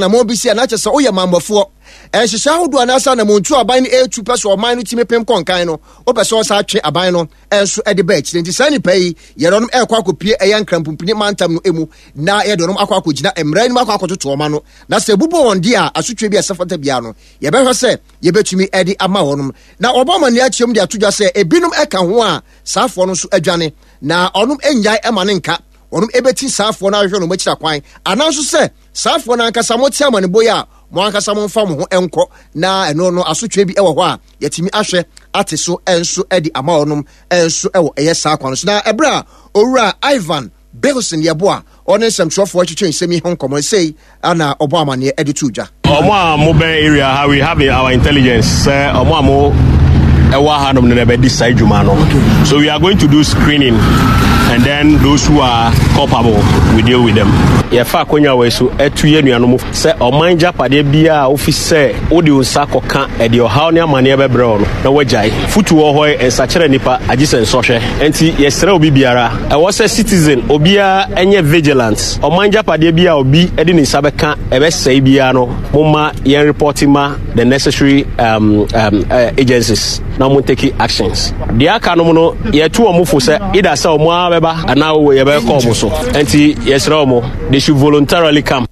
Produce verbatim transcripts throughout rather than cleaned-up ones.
Anammɔn bi si a na kyerɛ sɛ woyɛ mammɔfoɔ ɛnhyehyɛ ahodoɔ anaasɛ anammɔntu aban no ɛretu pɛ sɛ ɔman no tumi pem kɔnkan no, wopɛ sɛ ɔsa atwe aban no ɛnso ɛde ba akyire. Nti saa nipa yi, yɛde ɔnom ɛrekɔ akɔpie ɛyɛ Nkrampumpuni mantam no mu na yɛde ɔnom akɔ akɔgyina mmara anim akɔ akɔtoto ɔma no, na sɛ ebubɔ wɔn deɛ a, asotwe bi a ɛsɛ fata biara no, yɛbɛhwɛ sɛ yɛbɛtumi ɛde ama wɔnom. Na wɔbɔ amanneɛ akyerɛ de ato dwa sɛ ebinom ɛka ho a saafoɔ no nso adwane, na ɔnom nnyae ɛma ne nka wɔnom ɛbɛti saafoɔ no ahwehwɛ no akyira kwan, anaa nso sɛ saafoɔ no ankasa mote amanebɔ yi a, mo ankasa momfa mo ho nkɔ, na ɛno no asotwe bi wɔ hɔ a yɛtumi ahwɛ ate so nso de ama wɔnom nso wɔ ɛyɛ saa kwan so. Na ɛberɛ a Owura Ivan Bilson Yɛboa ɔne nsɛmtwerɛfoɔ twetwe nsɛm yi ho nkɔmmɔ sei ana ɔbɔ amanneɛ de to dwa. Ɔmo a mo bɛn area ha, we have our intelligence sɛ ɔmo a mo ɛwɔ hanom no na ɛbɛdi saa adwuma no, so we are going to do screening and then those who are culpable, we deal with them. Yɛfa akonnwa wɔ so ɛtu yɛ nuanom sɛ ɔman gyapadeɛ biara a wofi sɛ wode wo nsa kɔka ɛde ɔhaw ne amanneɛ bɛbrɛ wo no na woagyae. Fotu wɔ hɔ, nsakyerɛ nipa agye sɛ nsɔhwɛ, nti yɛsrɛ obi biara, ɛwɔ sɛ citizen obiara ɛnyɛ vigilant. Ɔman gyapadeɛ bi a obi de ne nsa bɛka ɛbɛsɛe biara no, momma yɛn report ma the necessary um, um, uh, agencies na mo take actions. Deɛ aka no mu no, yɛtu wɔn fo sɛ either sɛ wɔn ara bɛba anaa yɛbɛkɔ wɔn so, nti yɛsrɛ wɔn, they should voluntarily come.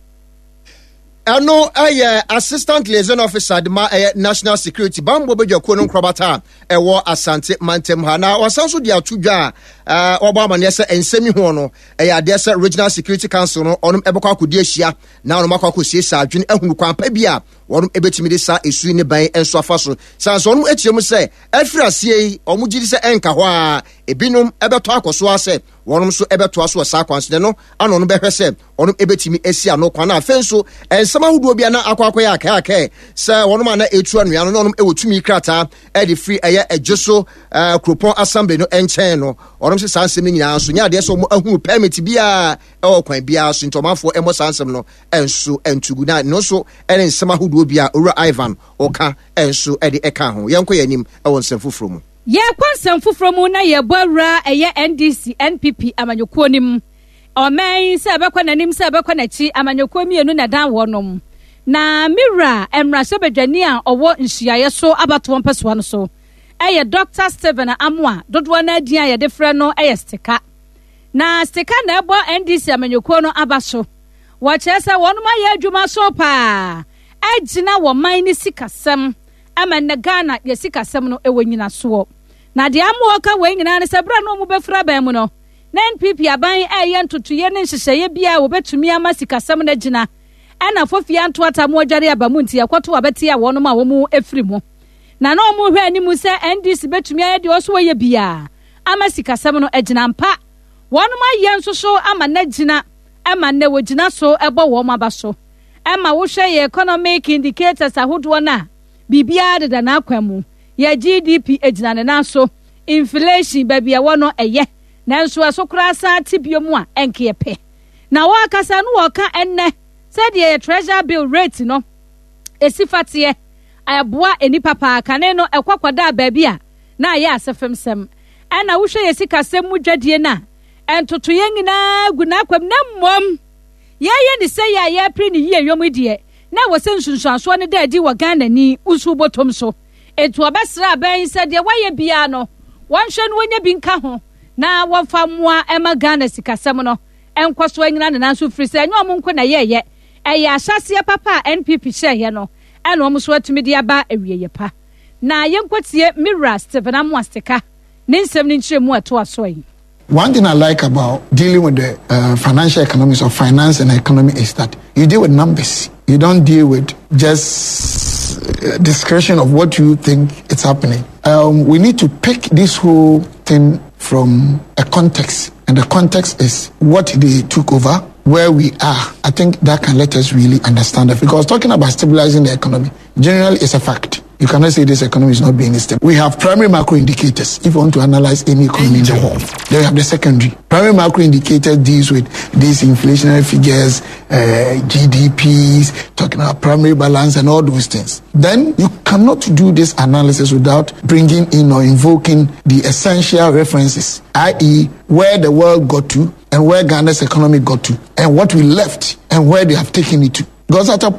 Ɛno ɛyɛ Assistant Liaison Officer de ma ɛyɛ National Security bambɔ badwakuo no nkorabata a ɛwɔ Asante mantam ha. Na wɔsan so de ato dwa a wɔbɔ amanneɛ sɛ nsɛm yi ho no ɛyɛ adeɛ sɛ Regional Security Council no ɔnom ɛbɛkɔ akɔdi ahyia na ɔnom akɔ akɔsiesie adwene ahunu kwan pa bi a wɔnom ɛbɛtumi de saa esu ne ban nso afa so. San so ɔnom akyerɛ mu sɛ ɛfiri aseɛ yi, ɔmo gye di sɛ ɛnka hɔ a ebinom ɛbɛtɔ akɔ so asɛ wɔnom nso ɛbɛtoa so wɔ saa kwan so no ano no, bɛhwɛ sɛ ɔnom ɛbɛtumi asi ano kwan. Na afei nso nsɛm ahodoɔ bi a na akɔ akɔyɛ akɛakɛ sɛ wɔnom a na ɛtu anwea no na ɔnom ɛwɔ tumi krataa ɛde firi ɛyɛ ɛgye so ɛɛ kuropɔn assembly no nkyɛn no, ɔnom sɛ saa nsɛm no nyinaa nso nyɛ adeɛ sɛ wɔn ahunu permit biara ɛwɔ kwan biara so, nti ɔmanfoɔ ɛmmɔ saa nsɛm no ɛnso ɛntugu. Na ɛno nso ɛne nsɛm ahodoɔ bi a Owura Ivan ɔka ɛnso ɛde ɛka ho. Yɛnkɔ yɛn anim ɛwɔ nsɛm foforɔ mu. Yɛkɔ nsɛm foforɔ mu na yɛbɔ awura ɛyɛ N D C N P P amanyɔkuo no mu. Ɔman sɛ ɛbɛkɔ n'anim sɛ ɛbɛkɔ n'akyi, amanyɔkuo mmienu na dan wɔnom. Na mewura mmarahyɛbadwani a ɔwɔ nhyiaeɛ so abatoɔ mpɛsoa no so ɛyɛ Doctor Stephen Amoa, dodoɔ no adin a yɛde frɛ no ɛyɛ Stika. Na Stika na ɛbɔ N D C amanyɔkuo no aba so. Wɔkyerɛ sɛ wɔnom ayɛ adwuma so paa agyina wɔ man ne sikasɛm ama nnɛ Ghana yɛ sikasɛm no ɛwɔ nyinasoɔ. Na deɛ ama wɔka wei nyinaa ne sɛ berɛ no ɔmu bɛfiri aban mu no, na N P P aban ɛyɛ ntotoyɛ ne nhyehyɛeɛ bi a wɔbɛtumi ama sikasɛm no agyina, ɛna fofia ntoata mu adware aba mu, nti yɛkɔto abɛte a wɔnom a wɔn afiri mu. Na na wɔn hwɛ anim sɛ N D C bɛtumi ayɛ deɛ ɔso wɔyɛ biara ama sikasɛm no agyina mpa. Wɔnom ayɛ nso so ama no agyina ama nnɛ wɔgyina so ɛbɔ wɔn aba so. Ɛma wohwɛ yɛ economic indicators ahodoɔ no a, biribiara deda n'akwan mu. Yɛ G D P gyina ne nan so, inflation baabi ɛwɔ no ɛyɛ, nanso ɛso koraa san te bio mu a ɛnkeɛ pɛ. Na wɔakasa no, wɔka ɛnnɛ sɛdeɛ yɛ treasury bill rate no esi fateɛ ɛboa nipa paa. Kane no ɛkɔ kɔdaa baabi a na ayɛ asɛfam sɛm. Ɛna wohwɛ yɛ sikasɛm mu dwadie no a, ntotoyɛ nyinaa gu n'akwam. Na mmom yɛyɛ ne sɛ yɛ a yɛpere ne yie yɔm deɛ, na ɛwɔ sɛ nsunsuansoɔ no da adi wɔ Ghana ni nso bɔtɔm so. Etu ɔbɛsrɛ abɛn sɛ deɛ wayɛ biara no, wɔnhwɛ no wɔnyɛ bi nka ho na wɔmfa mmoa ɛma Ghana sikasɛm no nkɔ so anyina ne nan so, firi sɛ ɛnyɛ ɔmo nko na ɛyɛɛyɛ, ɛyɛ ahyɛseɛ papa a N P P hyɛɛyɛ no ɛna ɔmo nso atumi de aba awieeɛ pa. Na yɛnkɔtie Mira Stephen Amoastika ne nsɛm no nkyerɛ mu ɛtoa so yi. One thing I like about dealing with the uh, financial economics or finance and economy is that you deal with numbers. You don't deal with just uh, description of what you think is happening. Um, we need to pick this whole thing from a context, and the context is what they took over, where we are. I think that can let us really understand it. Because talking about stabilizing the economy, generally, is a fact. You cannot say this economy is not being stable. We have primary macro indicators. If you want to analyze any economy in the world, then you have the secondary. Primary macro indicators deals with these inflationary figures, uh, G D Ps, talking about primary balance and all those things. Then you cannot do this analysis without bringing in or invoking the essential references, that is, where the world got to and where Ghana's economy got to, and what we left and where they have taken it to. Because at a